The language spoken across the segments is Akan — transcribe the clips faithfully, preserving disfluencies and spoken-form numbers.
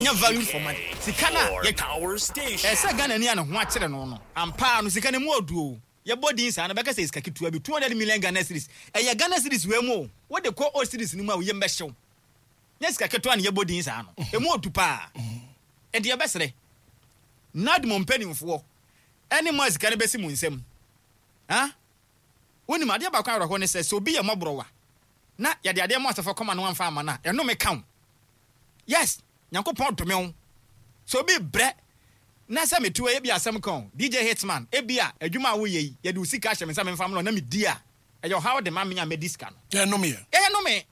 Yɛnya value for money. Sika no a yɛtwa. Ɛsɛ Ghana ni a ne ho akyere no no. Ampa no, sika no mu ɔdu o. Yɛbɔ din saa no, bɛka sɛ sika ketewa bi, two hundred million Ghana cedis. Ɛyɛ Ghana cedis wei mu o. Wode kɔ old cedis no mu a, wo yam bɛhyew. Nyɛ sika ketewa na yɛbɔ din saa no. Emu ɔdu paa. Ɛnti yɛbɛsrɛ NADMO mpanimfoɔ ɛne mo a sika no bɛsi mo nsam. Ha? Wonim adeɛ baako awerɛhoɔ ne sɛ, sɛ obi yɛ mmɔborɔwa na yɛde adeɛ ma asafo kɔma no amfa ama no a, ɛnome ka wo. Yes, Nyankopɔn dome wo. Sɛ obi brɛ na sɛ metu ebi asɛm ka o, D J Hitman, ebi a adwuma a woyɛ yi, yɛde wo sika ahyɛ me nsa memfa mmerɛ na medi a, ɛyɛ ɔhaw de ma me a mɛdi sika no. Ɛnome yɛ. Ɛnome.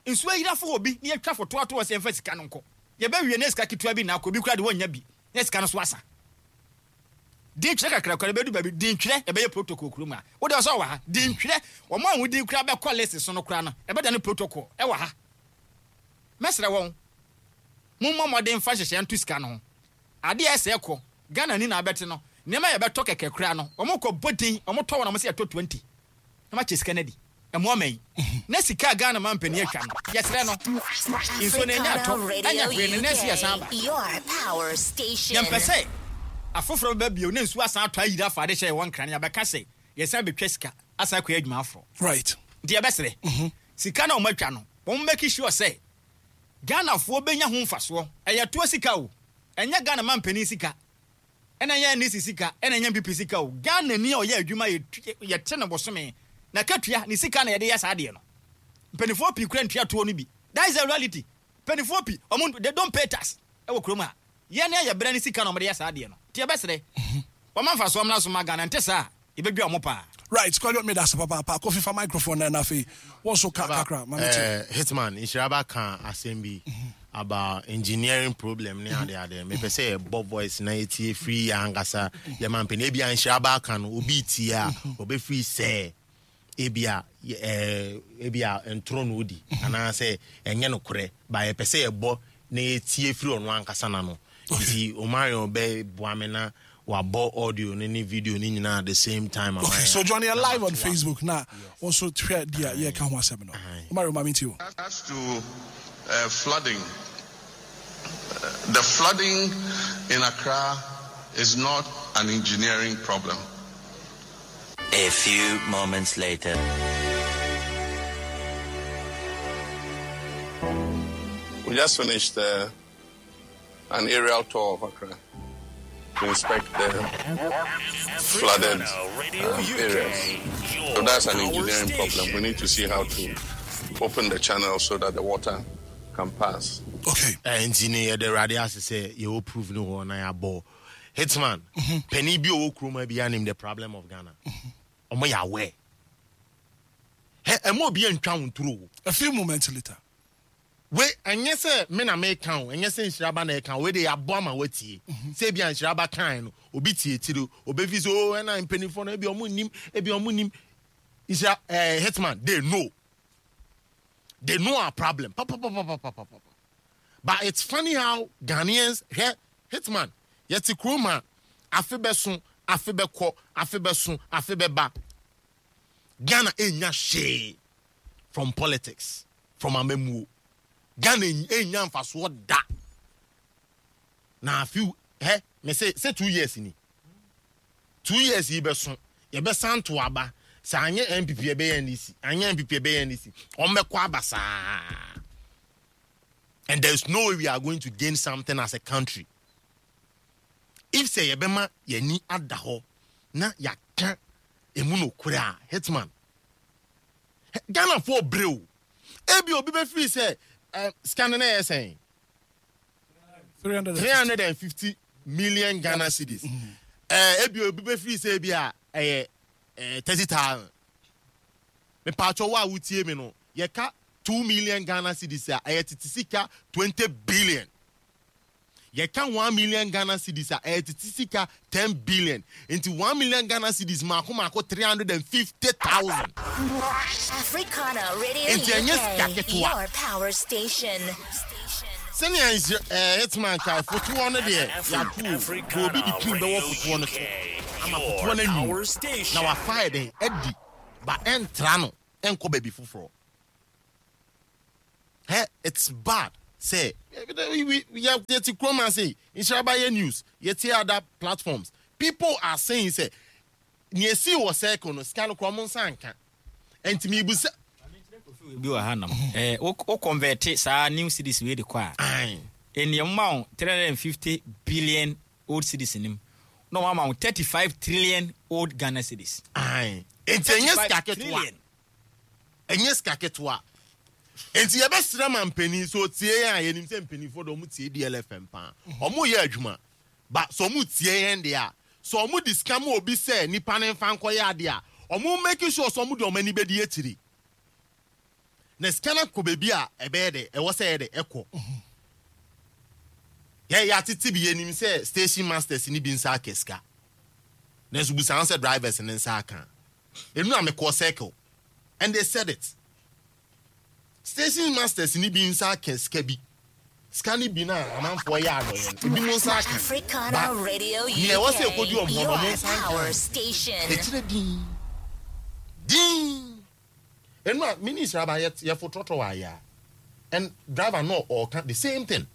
Nsuo ayira fo wɔ bi na yɛtwa foto ato hɔ sɛ yɛmfa sika no nkɔ. Yɛbɛwie na sika ketewa bi na akɔ, obi koraa de wɔnnya bi na sika no so asa. Dintwerɛ kakra koraa bɛdu baabi, dintwerɛ ɛbɛyɛ protocol kurom a. Wode ɔsɛ wɔ ha, dintwerɛ, wɔn a wɔn din koraa bɛkɔ list so no koraa no, ɛbɛda no protocol ɛwɔ ha. Mɛsrɛ wɔn, mommɔ mmɔden mfa nhyehyɛeɛ nto sika no ho. Adeɛ a ɛsɛ kɔ, Ghana ni na abɛte no, nneɛma a yɛbɛtɔ kɛkɛ koraa no, wɔn kɔ bɔ din, wɔn tɔ wɔn a wɔn sɛ yɛtɔ twenty, na wɔakyɛ sika no adi. Ɛmoa ma yi. Na sika a Ghana ma mpanin atwa no, yɛsrɛ no, nsuo no ɛnyɛ atɔ, ɛnyɛ hwee no, na ɛsi yɛsan aba. Yɛmpɛ sɛ afoforɔ bɛba bio na nsuo asan atɔ ayiri afa ade hyɛ yɛwɔ Nkran, yɛabɛka sɛ yɛsan bɛtwa sika asan akɔyɛ adwuma aforɔ. Right. Nti yɛbɛsrɛ, sika no a wɔatwa no, wɔn make sure sɛ Ghanafoɔ bɛnya ho mfasoɔ. Ɛyɛ toɔ sika o, ɛnyɛ Ghana ma mpanin sika, ɛna ɛnyɛ N D C sika, ɛna ɛnyɛ N P P sika o. Ghana ni a ɔyɛ adwuma yɛte no bosome na katua ne sika na yɛde yɛ saa adeɛ no. Mpanimfoɔ pii kura ntua toɔ no bi. That is the reality. Mpanimfoɔ pii, ɔmo they don't pay tax ɛwɔ kurom ha. Yɛn ne ayɛ brɛ ne sika na ɔmo de yɛ saa adeɛ no. Nti yɛbɛsrɛ, wɔn mfasoɔ mmra so ma Ghana, nte saa yɛbɛdwa ɔmo paa. Right, Kwadwo, me da ase papaapa. Kofi, fa microphone na na afei wɔn so ka kakra ma me tie. Eh, Hitman, Nhyiraba ka asɛm bi about engineering problem ne ade ade. Mepɛ sɛ yɛbɔ voice na yɛtie firi yɛ ankasa yɛma mpani. Ebia Nhyiraba ka no, obi tie a, ɔbɛfiri sɛ ebia eh, ebia ntoro na odi anaasɛ ɛnyɛ nokorɛ, ba yɛpɛ sɛ yɛbɔ na yɛtie firi ɔno ankasa n'ano. Nti Omarion bɛboa me na wabɔ audio ne ne video ne nyinaa at the same time. Okay, so join you live on Facebook na also hwɛ deɛ yɛka ho asɛm no. Omarion, ma me ntie o. As to uh, flooding, uh, the flooding in Accra is not an engineering problem. A few moments later. We just finished uh, an aerial tour of Accra to inspect the flooded um, areas. So that's an engineering problem. We need to see how to open the channel so that the water can pass. Okay. Nti ne yɛde Awurade ase sɛ yɛwɔ proof no hɔ na yɛabɔ. Hitman, panin bi a ɔwɔ kurom ha bi anim the problem of Ghana. Ɔmo yɛ aware. Hɛ, ɛmo obi antwa wo nturo o. A few moments later. We ɛnyɛ sɛ me na meka o, ɛnyɛ sɛ Nhyiraba na ɛka o, we de yɛabɔ ama watie. Sɛ ebi a Nhyiraba kan no, obi tie akyire, obefi sɛ o ɛna mpanimfoɔ no ebi ɔmo nim, ebi ɔmo nim. Nhyira ɛɛ Hitman, they know. They know our problem. Pa pa pa pa pa pa pa pa. But it's funny how Ghanaians hwɛ Hitman, yɛte kurom a afe bɛso, afe bɛkɔ, afe bɛso, afe bɛba. Ghana enya hwee from politics, from amamuo. Ghana enya mfasoɔ da. Na afe hɛ me se sɛ two years ni. Two years yi bɛso, yɛbɛsan to aba. Sɛ anyɛ N P P ɛbɛyɛ N D C, anyɛ N P P ɛbɛyɛ N D C. Wɔn bɛkɔ aba saa. And there is no way we are going to gain something as a country. If say yɛbɛma yɛni ada hɔ na yɛaka emu no kura Hitman. Ghana for brew. Ebi obi be free say uh, scanning na yɛ three hundred and fifty million Ghana cedis. Eh, ebi obi be free say ebi a eh, eh, thirty thousand. Me pacho wa wutie me no. Yɛka two million Ghana cedis a ɛyɛ tete sika twenty billion. Yɛka one million Ghana cedis a ɛyɛ tete sika ten billion. Nti one million Ghana cedis mako mako three hundred and fifty thousand. Africana Radio Nti ɛnyɛ sika U K, ketewa. your power station. Sɛnea nhyɛ, eh, Hitman ka fotoɔ no deɛ yɛato o. Obi de pin bɛwɔ fotoɔ no so ama fotoɔ no anwu na wafa yɛ den adi ba ɛntra no ɛnkɔ baabi foforɔ. Hey, it's bad. Sɛ yɛte kurom ase Nhyiraba yɛ news, yɛte other platforms. People are saying sɛ nea esi wɔ circle no sika no korɔ ɔmo nsa nka. Nti mi busa. Bi wɔ ha nom. Eh, wo wo convert saa new cedis wei de kɔ a. Ɛnneɛ ma wo three hundred and fifty billion old cedis nim. Na wɔn ama wo thirty five trillion old Ghana cedis. Nti ɛnyɛ sika ketewa. Ɛnyɛ sika ketewa. Nti yɛbɛsrɛ ma mpanin sɛ otie yɛn a yɛnim sɛ mpanimfoɔ de ɔmo tie D L F M paa. Ɔmo yɛ adwuma. Ba sɛ ɔmo tie yɛn deɛ a, sɛ ɔmo di sika ma obi sɛ nipa ne nfa nkɔyɛ adeɛ a, ɔmo make sure sɛ ɔmo de ɔmo ani bɛdi akyiri. Na sika no kɔ baabi a ɛbɛyɛ dɛ, ɛwɔ sɛ ɛyɛ dɛ ɛkɔ. Yɛ yɛ atete bi yɛnim sɛ station masters ni bi nsa aka sika. Nanso busan sɛ drivers ne nsa aka. Enu a mekɔ circle and they said it. Station masters ni bi nsa aka sika bi. Sika ni bi na amanfoɔ yɛ adɔyɛ no. Ebi mo nsa aka. Africana Radio U K, Nea ɛwɔ sɛ ɛkɔdi ɔmo hɔ no, ɔmo your nsa nka. power station. Ɛkyerɛ din. Din. Enu a minister aba yɛ yɛfo trɔtrɔ wɔ ayɛ a. And driver no ɔka the same thing.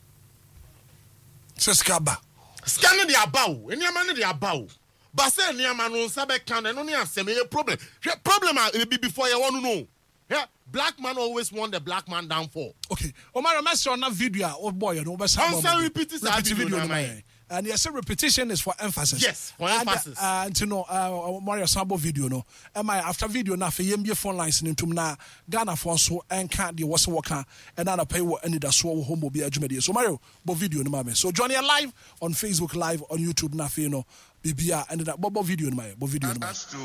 Sɛ sika ba. Sika no de aba o. Nneɛma no de aba o. Ba sɛ nneɛma no nsa bɛka no, ɛno ne asɛm, ɛyɛ problem. Hwɛ problem a ebi before yɛwɔ no no. Hwɛ, black man always want the black man downfall. Okay. Omar, mɛsrɛ na video a wobɔ yɛ no, wobɛsa bɔ Ɔnsan ma repeat saa Repeat video video no no ma ama yɛn. And yes, repetition is for emphasis. Yes, for And, emphasis. uh, nti no, uh, Mario san bɔ video no. Ɛma yɛ after video no, afei yɛmbie phone lines no ntom na Ghanafoɔ nso ɛnka deɛ wɔ sɛ wɔka ɛna anɔpa yi wɔ anidasoɔ wɔ hɔ ma obi adwumadie. So Mario, bɔ video no ma me. So join yɛ live on Facebook Live, on YouTube na afei no, biribi a ɛne da, bɔ, bɔ video no ma yɛ, bɔ video no ma yɛ. As to,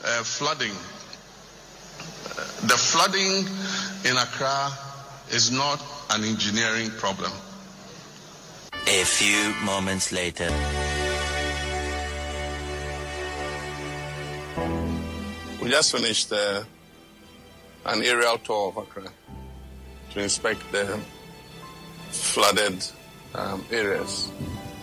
uh, flooding, uh, the flooding in Accra is not an engineering problem. A few moments later. We just finished, uh, an aerial tour of Accra to inspect the flooded, um, areas.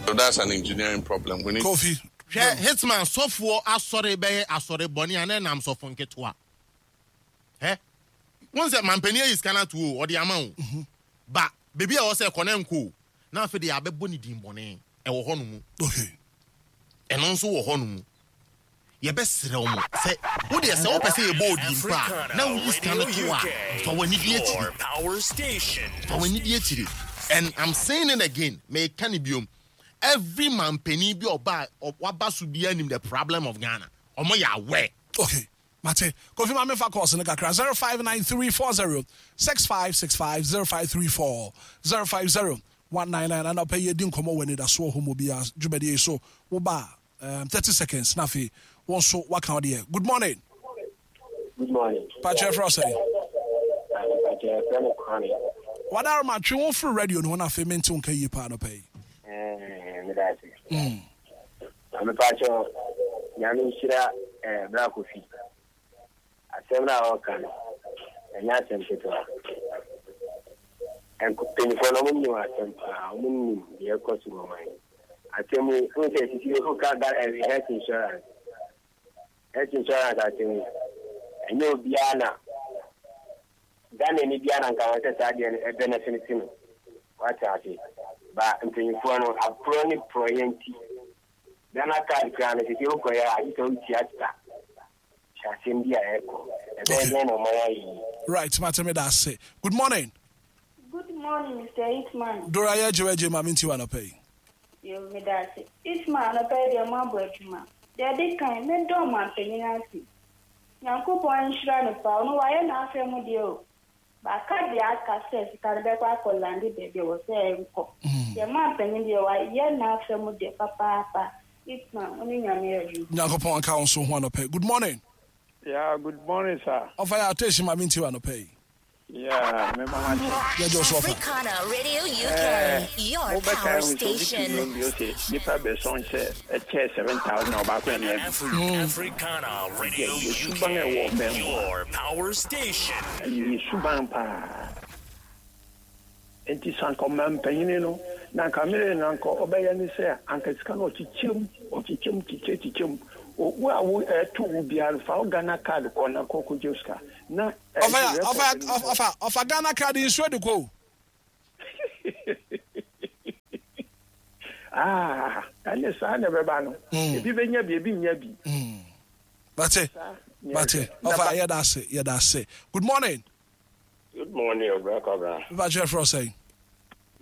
So that's an engineering problem. We need Kofi. Hwɛ, Hitman, sɔfoɔ asɔre bɛyɛ asɔre bɔne a na ɛnam sɔfo nketewa. Hɛ? Wɔn sɛ mampanin ayi sika no ato o, ɔde ama o. Mm-hmm. Ba, beebi a ɛwɔ sɛ ɛkɔ na nkɔ o. Na afei de abɛbɔ ne din bɔne ɛwɔ hɔ no mu. Okay. Ɛno nso wɔ hɔ no mu. Yɛbɛsrɛ wo mo sɛ, wo deɛ sɛ wopɛ sɛ yɛbɔ odin pa a, na woyi sika no to a, fa w'ani di akyiri. Fa w'ani di akyiri. And I'm saying it again, meka ne biom. Every man penny bi ɔba, waba so bi anim the problem of Ghana. Ɔmo yɛ aware. Okay. Mate, Kofi ma mefa calls no kakra zero five nine three four zero six five six five zero five three four zero five zero one nine nine. Ana pɛ yɛ di nkɔmɔ wɔ anidasoɔ hɔ mu bi a dwumadie yi so wo ba, um, thirty seconds na afei wɔn nso waka wo deɛ. Good morning. Good morning. Pakyɛ frɛ sɛ. Pakyɛ frɛ me Kwame. Wadaro ma twe wo firi radio no ho na afei mente wo nka yie paa no pɛ yi. Eh, meda ase. Mm. Maame Pakyɛ, Nyame nhyira, eh, Bra Kofi. Asɛm no a ɔka no, ɛnyɛ asɛm ketewa. Mpanyinfoɔ no, ɔmo nim asɛm paa, ɔmo nim deɛ ɛkɔ so wɔ man. Asɛm yi, wohu sɛ sisi woka Ghana, eh, health insurance. Health insurance asɛm yi, ɛnyɛ obiara na Ghana ni biara na nka wɔn sɛ saa deɛ no ɛbɛnɛfiti no. Wate ase. Ba mpanyinfoɔ no, aporɔ ne porɔyɛ nti. Ghana card koraa no, sisi wokɔ yɛ a, agye sɛ wotua sika. Asɛm bi a ɛkɔ. Ɛbɛyɛ dɛn na ɔman ayɛ yi? Right, Mate me da ase. Good morning. Good morning, Mister Eastman. Dora yɛ gye wagye ma minti wa nɔpɛ yi. Yo, me da ase. Eastman nɔpɛ yi deɛ mo abɔ adwuma. Deɛ di kan, me dɔn ma mpanyin ase. Nyankopɔn nhyira no pa, ɔno wayɛ n'afɛ mu deɛ o. Baaka deɛ aka sɛ sika no bɛkɔ akɔ lande baabi a wɔ sɛ ɛnkɔ. Deɛ ma mpanyin deɛ wayɛ n'afɛ mu deɛ papaapa. Eastman, ɔne Nyame yɛ adwuma. Nyankopɔn nka wo nso ho anɔpɛ. Good morning. Yeah, good morning, sir. Ɔfa yɛ attention ma minti wa anɔpɛ yi. Yeah, me mama che. Yeah, Joshua. Africana Radio U K, Eh, your mo bɛka power ho sɛ obi tu station. nnwom bi, ɔse, nipa bɛsɔn sɛ, ɛkyɛ seven thousand ɔbaako ɛne ɛbi. Mm. Africana Radio Yeah, U K, suban ɛwɔ ɔman mu. your power station. Ɛyɛ suban paa. Enti sɛ anka ɔman panyin no, na anka mmere na anka ɔbɛyɛ ne sɛ, anka sika no ɔkyekyɛm, ɔkyekyɛm, kyekyɛ, kyekyɛm. O, wo a wo, ɛto wo biara no, fa wo Ghana card kɔ na kɔ kɔgye sika. Na, ɛ, Ɔfa ya, record ɔfa, no ɔfa, ɔfa Ghana card nsuo de kɔ o. Ah, ɛne saa na ɛbɛba no. Ebi bɛnya bi, ebi nya bi. Bate, bate. Ɔfa yɛda ase, yɛda ase. Good morning. Good morning, Obra Kwabra. Mepa kyerɛ frɛ sɛn?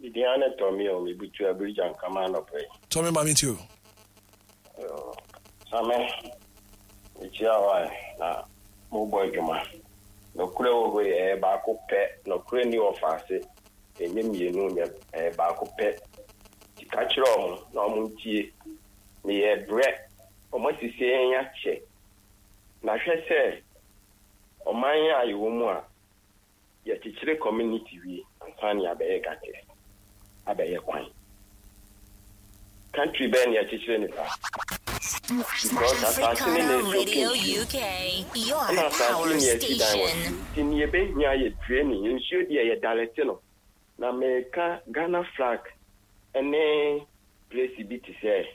Bidiane Tɔmi o, mebutu abirigya nkama anɔpɛ yi. Tɔmi ma me ti o. Same, mekyia hɔ a na mobɔ adwuma. Nokorɛ wɔ hɔ yi, ɛyɛ baako pɛ. Nokorɛ ni wɔ faase. Ɛnyɛ mmienu, nyɛ ɛyɛ baako pɛ. Ka kyerɛ ɔmo na ɔmo ntie. Meyɛ brɛ, ɔmo asisi yɛn akyɛ. Na hwɛ sɛ ɔman a yɛwɔ mu a yɛkyekyere community wie ansa ne abɛyɛ gutters, abɛyɛ kwan. Country bɛɛ ne yɛkyekyere ne saa? Because asase ne na Africana ɛsoke Radio nsuo. U K, your Ɛna asase power ne yɛsi dan wɔ station. so. Nti ne yɛbɛhia yɛ draining. Nsuo deɛ yɛ dalete no. Na meka Ghana flag ɛne place bi te sɛ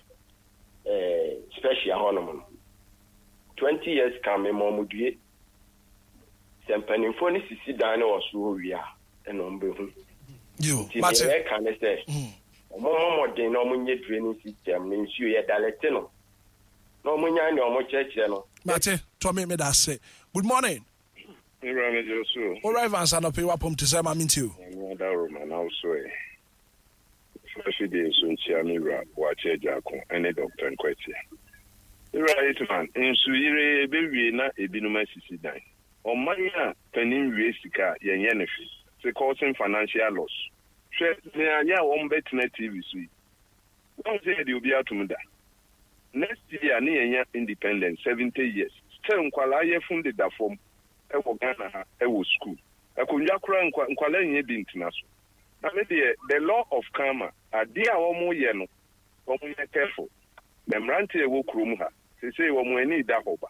eh, special hɔnom no. Twenty years ka me ma ɔmo due. Sɛ mpanimfoɔ no sisi dan no wɔ so hɔ wie a, ɛna ɔmo bɛhu. Yo, Nti mate. deɛ yɛka ne sɛ ɔmo mmɔ mmɔden na ɔmo nyɛ draining system ne nsuo yɛ dalete no na ɔmo nya nea ɔmo kyerɛkyerɛ no. Mate, Tɔmi, meda ase. Good morning. Ewura mi jẹ so. Owura Evans anɔpɛ yi wapɔm te sɛ ma me ti o. Nyame adaworo na wo so ɛ. First day so nkyia me wura Boakye Agyarko ɛne Doctor Nkwatia. Ewura Hitman, nsuyire ebewie na ebinom asisi dan. Ɔman a panin wie sika a yɛnyɛ ne hwee. Sɛ causing financial loss. Hwɛ nea yɛ a wɔn bɛtena T V so yi. Wɔn sɛ yɛde obi atom da. Next year ne yɛnya independence seventy years. Still nkwalaa yɛfun deda fam ɛwɔ Ghana ha ɛwɔ school. Akonnwa koraa nkwa nkwalaa nyɛ bi ntena so. Na me deɛ, the law of karma, adeɛ a wɔn yɛ no, wɔn yɛ careful. Na mmeranteɛ a ɛwɔ kurom ha, seesei wɔn ani da hɔ ba.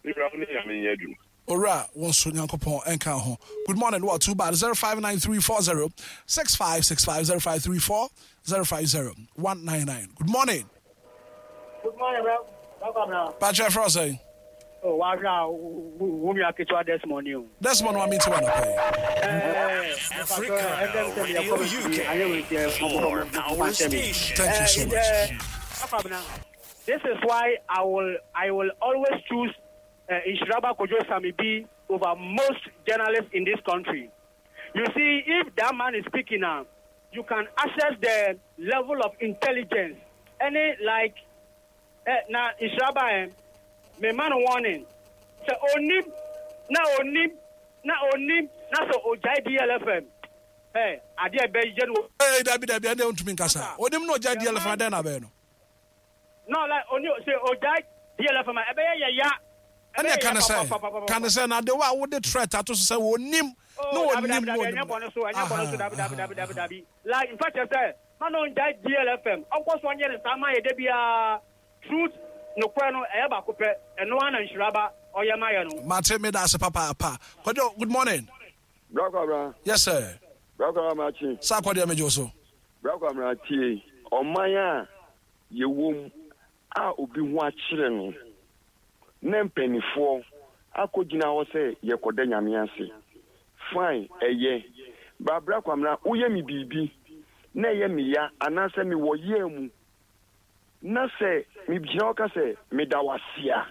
Ewura, wo ne Nyame nyɛ adwuma. Owura, wo nso Nyankopɔn ɛnka ho. Good morning. What too bad. zero five nine three four zero six five six five zero five three four zero five zero one nine nine. Good morning. Good morning, bro. Welcome now. Patrick Frosey. Oh, wow, wo nua ketewa Desmond ni o. Desmond wa mi ti wa nɔpɛ yi. Africana Radio U K, your power station. Thank you so much. This is why I will I will always choose uh, Nhyiraba Kojo Sami B over most journalists in this country. You see, if that man is speaking now, you can assess the level of intelligence. Any like, eh, na Nhyiraba, eh, me man warning. Sɛ onim na onim na onim na sɛ ogyae D L F M. Eh, adeɛ bɛ yɛ no. Ee, dabi dabi, ɛnna ntumi nkasa. Onim na ogyae D L F M, adɛn na bɛyɛ no? No, like oni sɛ ogyae D L F M a, ɛbɛyɛ yɛ ya. Ɛnna ka ne sɛ ka ne sɛ na de wa wode threat ato so sɛ onim na onim na onim. Ɛnyɛ bɔne so, ɛnyɛ bɔne so, dabi dabi dabi dabi dabi. Like in fact, sɛ ma no ngyae D L F M, ɔnkɔ so ɔnyɛ ne saa ma yɛ de biara. Truth, nokorɛ no ɛyɛ baako pɛ, ɛno ara na Nhyiraba ɔyɛ ma yɛ no. Mate, me da ase papaapa. Kwadwo, good morning. Brakɔ abra. Yes sir. Brakɔ abra kyi. Saa akɔdeɛ megye wo so. Brakɔ abra, tie. Ɔman a yɛwɔ mu a obi ho akyerɛ no na mpanimfoɔ akɔgyina hɔ sɛ yɛkɔda Nyame ase. Fine, ɛyɛ. Ba Brakɔ abra, woyɛ me biribi na ɛyɛ me ya anaasɛ mewɔ yɛɛ mu na sɛ megyina hɔ ka sɛ meda wo ase a,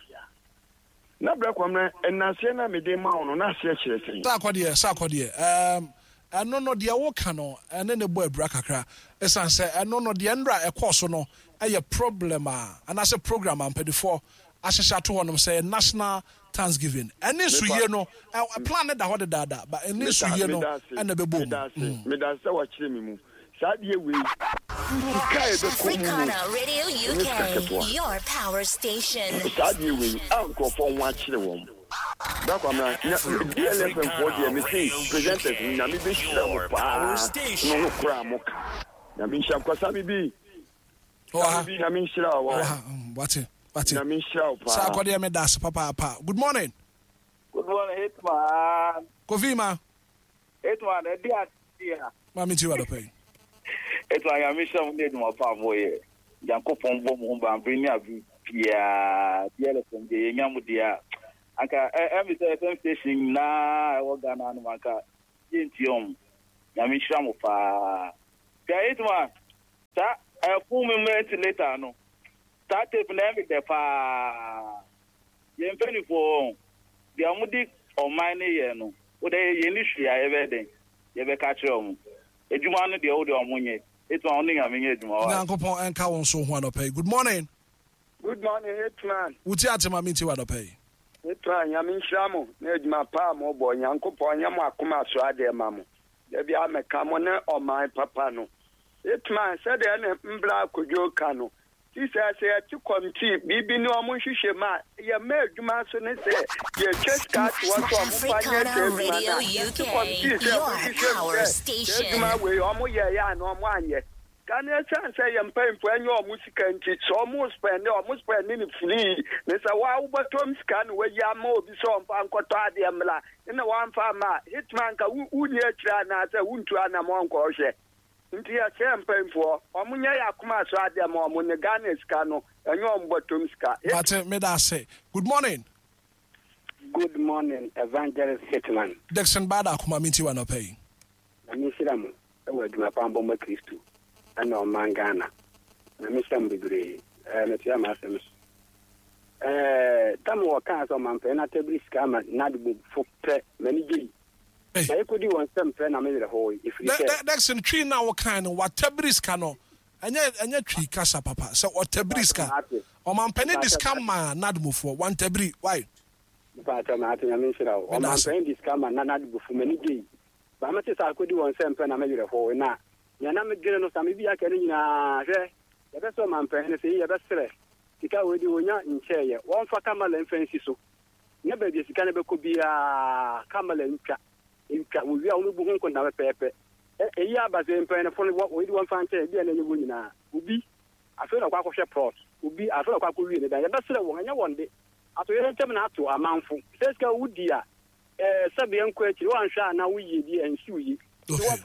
na Brakɔ abra, ɛnaseɛ no a mede ma wo no na aseɛ kyerɛ sɛn? Saa akɔdeɛ, saa akɔdeɛ, ɛɛm ɛno no deɛ woka no ɛne ne bɔ abira kakra, ɛsiane sɛ ɛno no deɛ nnora ɛkɔɔ so no ɛyɛ problem a anaasɛ program a mpanimfoɔ ahyehyɛ ato hɔnom sɛ national thanksgiving. Ɛne nsuyie no, ɛ plan ne da hɔ dedaada ba ɛne nsuyie no ɛna ɛbɛbɔ mu. Meda sɛ wakyerɛ me mu saa deɛ wei sika a ɛbɛkɔ mu no Africana Radio ɛnyɛ sika U K, ketewa. your power station. Saa deɛ wei a nkurɔfoɔ ho akyerɛ wɔn, Bra Kwamina, D L F M foɔ deɛ, mese presenters no, Nyame bɛhyira mo paa no no koraa mo ka. Nyame nhyira kwasa me bi. Ɔha. Bi Nyame nhyira wo. Ɔha, mm, wate wate. Nyame nhyira wo paa. Saa akɔdeɛ, meda ase papaapa. Good morning. Good morning, Hitman. Kofi ma. Hitman, ɛdi adi a. Maame ti wa dɔpɛ yi. Hitman, Nyame hyira mo ne adwuma pa a moyɛ. Nyankopɔn bɔ mo ho ban bere ne abere biara. D L F M deɛ, yɛnya mo deɛ a, anka ɛmi sɛ F M station nyinaa ɛwɔ Ghana no, anka yɛntie ɔmo. Nyame nhyira mo paa. Hwɛ Hitman, saa ɛfun mi ventilator no, saa tape na ɛmi dɛ paa. Yɛn mpanyinfoɔ deɛ ɔmo di ɔman ne yɛ no, o de yɛn ni hwee a yɛbɛ den, yɛbɛka kyerɛ ɔmo. Edwuma no deɛ o de ɔmo nyɛ. Hitman ɔne Nyame nyɛ adwuma wa. Nyankopɔn ɛnka wo nso ho anɔpa yi. Good morning. Good morning, Hitman. Wuti ate ma minti wa anɔpa yi. Hitman, Nyame nhyira mo na adwuma pa a mobɔ. Nyankopɔn nyɛ mo akoma so adeɛ ma mo. Da bi a mɛka mo ne ɔman papa no. Hitman, sɛdeɛ ne mbra akodwo ka no, ti sɛ sɛ yɛte committee biribi ne ɔmo nhwehwɛ mu a, yɛma adwuma so ne sɛ yɛtwa sika ato hɔ sɛ ɔmo fa nyɛ sɛ adwuma no a, yɛte committee sɛ ɔmo nhwehwɛ mu sɛ sɛ adwuma wei ɔmo yɛeɛ a na ɔmo anyɛ. Ka ne ɛsiane sɛ yɛ mpanyimfoɔ ɛnyɛ ɔmo sika nti, sɛ ɔmo spend ɔmo spend ne free, ne sɛ waa wobɛtɔm sika na wayi ama obi sɛ ɔmfa nkɔtɔ adeɛ mmra na wamfa ama a, Hitman ka wonni akyire anaasɛ wontu anam ɔnkɔhwɛ. Nti yɛsrɛ mpanyimfoɔ, ɔmo nyɛ yɛ akoma so adeɛ ma ɔmo ne Ghana sika no, ɛnyɛ ɔmo bɔtɔm sika. Mate, meda ase. Good morning. Good morning, Evangelist Hitman. Dixon Bada akoma minti wa anɔpa yi. Na menhyira mo ɛwɔ adwuma pa mbɔ ma Kristo ɛna ɔman Ghana. Na mehyira mo bebree. Ɛɛ metua m'asɛm so. Ɛɛ tam wɔ kaa sɛ ɔmampanin no atabiri sika ama n'adebɔfo pɛ m'ani gye yi. Na yɛkɔdi wɔn nsɛm pɛ na me werɛ hoo ɛfiri sɛ. Dixon twi na wɔkan no watabiri sika no ɛnyɛ ɛnyɛ twi kasa papa sɛ ɔtabiri sika. Ɔmampanin de sika ma n'adebɔfoɔ wantabiri why? Mpaatɔ ma ate Nyame nhyira wo. Ɔmampanin de sika ma n'adebɔfo m'ani gye yi. Ba mete sɛ akɔdi wɔn nsɛm pɛ na me werɛ hoo na nea na medwene no sɛ mebi aka no nyinaa hwɛ yɛbɛsɛ ɔmampanin no sɛ yi yɛbɛserɛ sika wei de wɔnya nkyɛeɛ wɔmfa kamala mfa nsi so na baabi a sika no bɛkɔ biara kamala ntwa ntwa wɔwie a wɔbɛbu ho nkonta pɛpɛɛpɛ. Ɛyi aba sɛ mpanyinfo no wɔyi de wɔmfa nkyɛn bi a na ɛnyɛ wɔn nyinaa obi afei na ɔkɔ akɔhwɛ plot obi afei na ɔkɔ akɔwie ne dan yɛbɛserɛ wɔn ɛnyɛ wɔn de ato yɛn ntɛm na ato amanfo sɛ sika wodi a ɛɛ sɛbi nkɔ akyiri wɔanhwɛ a na woyie bi ɛnsi wo yie. Good morning.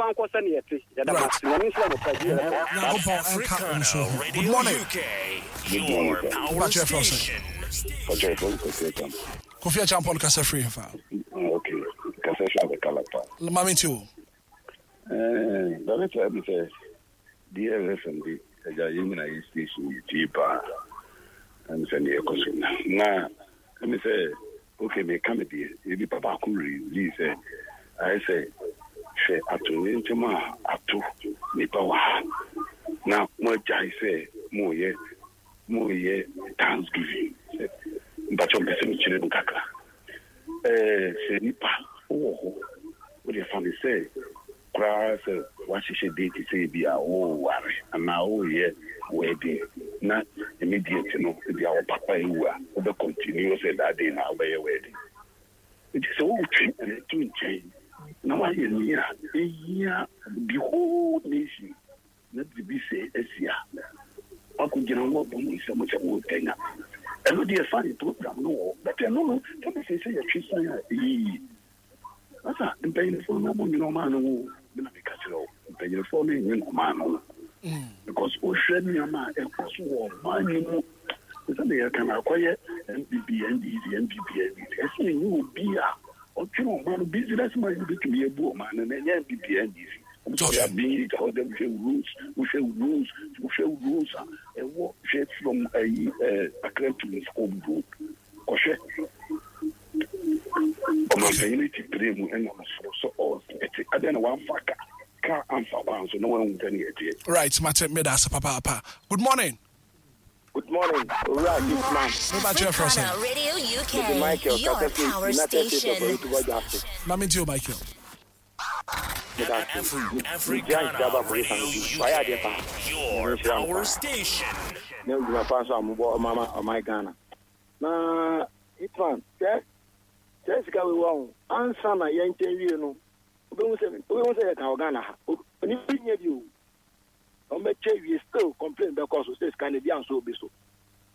Good morning. Kofi Achampon kasa free fa. Okay. Kasa sha kalapa. Mami too. Eh, director me say D L F M D eja yimina station ti pa. Am say ne ekoso na. Na me say okay me come there. E bi papa ku release say I say hwɛ ato ntɛm a ato nipa wɔ ha na mo agyae sɛ mo yɛ mo yɛ thanksgiving mpakyɛ mpɛ sɛ mekyerɛ mu kakra. Ɛɛ sɛ nipa wɔ hɔ wode fa ne sɛ koraa sɛ wahyehyɛ date sɛ bi a woware anaa woyɛ wedding na immediate no bi a wo papa ewu a wobɛ continue sɛ that day na wobɛyɛ wedding. Nti sɛ wotwe ɛto nkyɛn na wayɛ nea ehia the whole nation na biribi sɛ asi a wakɔgyina hɔ bɔ mu nsɛm sɛ wotanya ɛno deɛ fine program no wɔ but ɛno no sɛ sɛ sɛ yɛtwe san a ɛyɛ yie asa mpanyinfoɔ no ɔmo nwene ɔmaa no ho na meka kyerɛ wo mpanyinfoɔ no nwene ɔmaa no ho because wohwɛ nneɛma a ɛkɔ so wɔ ɔman no mu sɛ ne yɛka no akɔyɛ N P P N D C N P P N D C ɛsɛ ɛnyɛ obi a ɔtwene ɔman no business man no bɛtumi abu ɔman no na ɛnyɛ N P P N D C. So ya bi ka o dem hwɛ rules wohwɛ rules wohwɛ rules a ɛwɔ hwɛ from ayi Accra to Nsukom road kɔhwɛ ɔmanpanyin ti pere mu ɛna soro so ɔsɛte adɛn na wamfa ka ka amfa kwan so na wanhu sɛ ne yɛteɛ. Right, mate meda ase papaapa. Good morning. Good morning, Owura Hitman. Africana Radio U K, Michael, your power United States of station. America. Mami Tio Michael. Africana Radio U K, your power station. Na Hitman, sɛ sɛ sika we wa ansa na yɛnkyɛn wie no obehu sɛ obehu sɛ yɛka wɔ Ghana ha onipa nyɛ bi o ɔmbɛkyɛ wie still complain bɛkɔ so sɛ sika no bi anso obi so